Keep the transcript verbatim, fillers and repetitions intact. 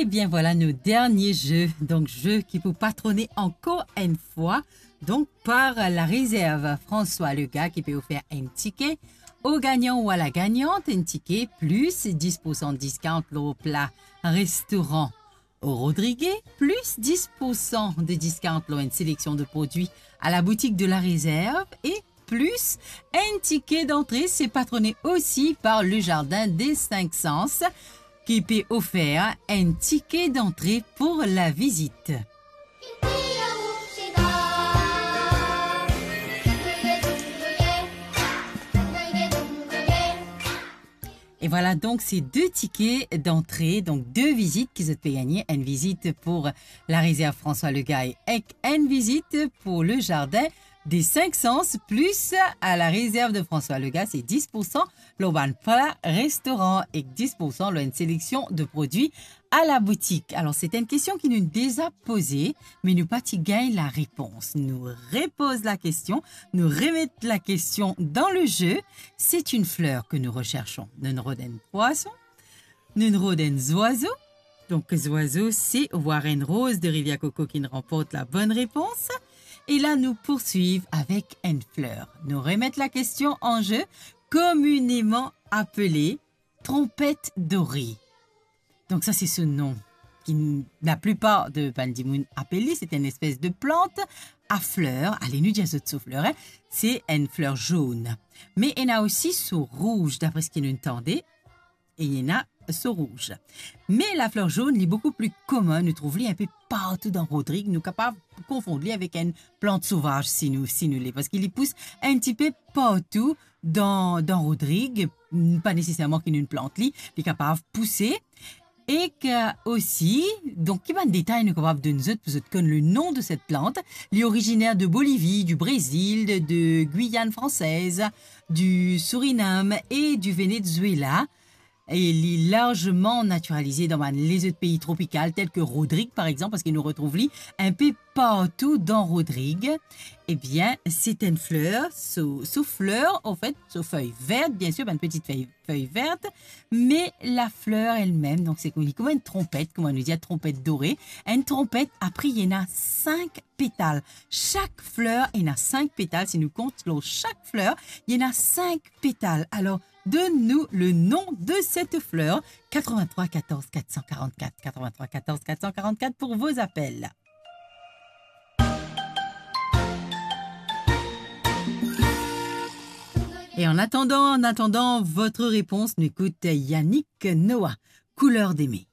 Bien, vwala nou dernie ze. Donk, ze ki pou patrone ankor enn fwa, donk, par la rezerv François Legaye ki pe ofer enn tike o gagnan ou a la gagnant, enn tike plis dis poursan diskount lor pla restoran o Rodrigues, plis dis poursan de diskount lor enn seleksion de prodwi a la boutik de la rezerv e plis enn tike dantre, se patrone osi par Le Jardin des Cinq Sens, ki pe ofer enn tike dantre pou la vizit. E vwala, donk, se de tike dantre, donk de vizit ki zot pe gagne, enn vizit pou la rezerv François Legaye ek enn vizit pou Le Jardin des Cinq Sens, plis a la rezerv de François Legaye, se dis poursan lor bann pla restoran ek dis poursan lor enn seleksion de prodwi a la boutik. Alor, se enn kestion ki nou deza poze, me nou pa ti gagn larepons. Nou repoz lakestion, nou remet lakestion dan le ze. C'est une fleur que nous recherchons. Nou'nn rod enn pwason, nou'nn rod enn zwazo. Donk, zwazo, se Warren Rose de Rivière Coco ki'nn ranport la bonne réponse. E la, nou pourswiv avek enn fler. Nou remet lakestion an ze, communément appelée trompette dorée. Donk, sa se so non ki n-, laplipar de bann dimoun apel li, se enn espes de plant a fler, ale nou dir zot so fler, hein. Se enn fler zonn. Me ena osi so rouz, dapre seki nou tande, e ena so rouz. Me lafler zonn, li boukou pli komin, nou trouv li enpe partou dan Rodrig, nou kapav konfond li avek enn plant sovaz si nou, si nou le, parski li pous enn tipe partou dan, dan Rodrig, pa neseserman ki nou plant li, li kapav pouse. Ek osi, donk, ki bann detay nou kapav donn zot pou zot konn le nom de cette plante? Li originaire de Bolivie, du Brésil, de, de Guyane française, du Suriname et du Venezuela. E li larzeman natiralize dan bann lezot pei tropikal, tel ki Rodrig, par exanp, parski nou retrouv li enpe partou dan Rodrig. Ebien, se enn fler, so, so fler, anfet, so fey vert, biensir, bann peti fey, fey vert, me lafler elmem, donk, se kouma, kouma enn tronpet, kouma nou dir, tronpet dore, enn tronpet, apre, ena sink petal. Sak fler ena sink petal. Si nou kont lor sak fler, ena sink petal. Alor, donn nou le nom de cette fleur. Quatre-vingt-trois quatorze quatre cent quarante-quatre, quatre-vingt-trois quatorze quatre cent quarante-quatre pour vos appels. Et en attendant, en attendant votre réponse, nou ekout Yannick Noah, Couleur d'aimer.